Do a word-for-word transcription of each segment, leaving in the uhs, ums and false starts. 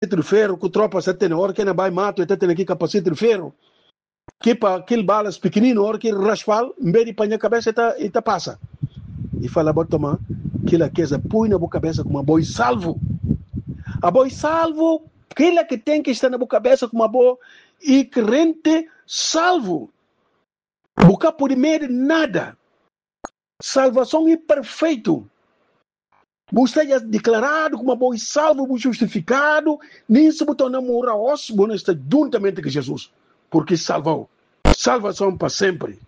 kapasete di feru ku tropa sta tene, ora ke na bai matu e ta tene ki kapasete di feru ki pa kil balas pikininu, ora ki raspal, nbes di paña kabesa e ta, e ta pasa. I fala bo toma, kila keza pui na bo kabesa kuma bo i salvu. Abo i salvu, kila ki tenki sta na bo kabesa kuma bo i krente salvu. Bo ka pudi medi nada. Salvason i perfeitu. Bo sta ya deklaradu kuma bo i salvu, bo justifikadu, nin si bo torna mora os, bo na sta juntamente ku Jesus, purki salvau. Salvason pa sempri.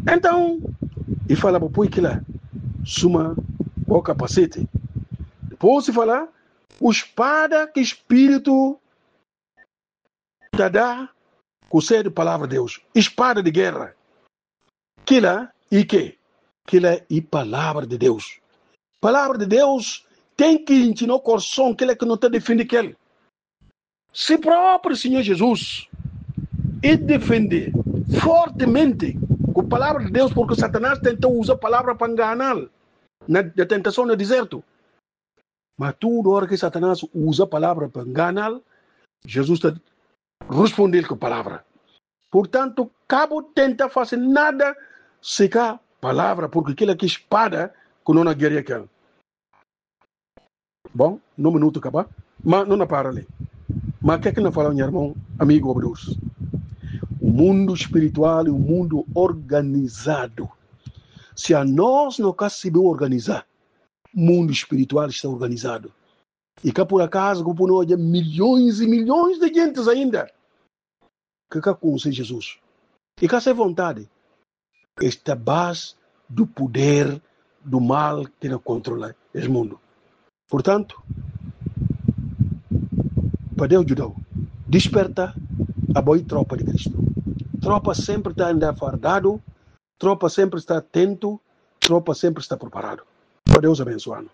Entaun, i fala bo pui kila suma bo kapasete. Dipos i fala, o spada ki Spiritu ta da, ku sedu palavra di Deus. Spada di gera. Kila i ke? Kila i palavra di Deus. Palavra di Deus tenki inti no korson, kila ki no ta difende kel. Si propri Siñor Jesus i difende fortemente ku palavra di Deus, purki Satanas tenta uza palavra pa nganal na, na tentason na dizertu. Ma tudu ora ki Satanas uza palavra pa nganal, Jesus ta ruspondel ku palavra. Purtantu, ka bo tenta fasi nada si ka palavra, purki kila ki spada ku no na geria kel. Bon, no minutu kaba, ma no na para li. Ma ke ki na fala, nha irmon, amigu, obradores? O mundu spiritual i o mundu organizadu. Si anos no ka sibi organiza, mundu spiritual sta organizadu. I ka pur akazu ku pur no oja milyons i milyons di gentis ainda ke ka konse Jesus. I ka se vontadi. Esta bas du puder du mal ki na kontrola es mundu. Purtantu, pa Deus judau, disperta, abo i tropa di Kristu. Tropa sempri ta anda fardadu, tropa sempri sta atentu, tropa sempri sta preparadu. Pa Deus abensuanu.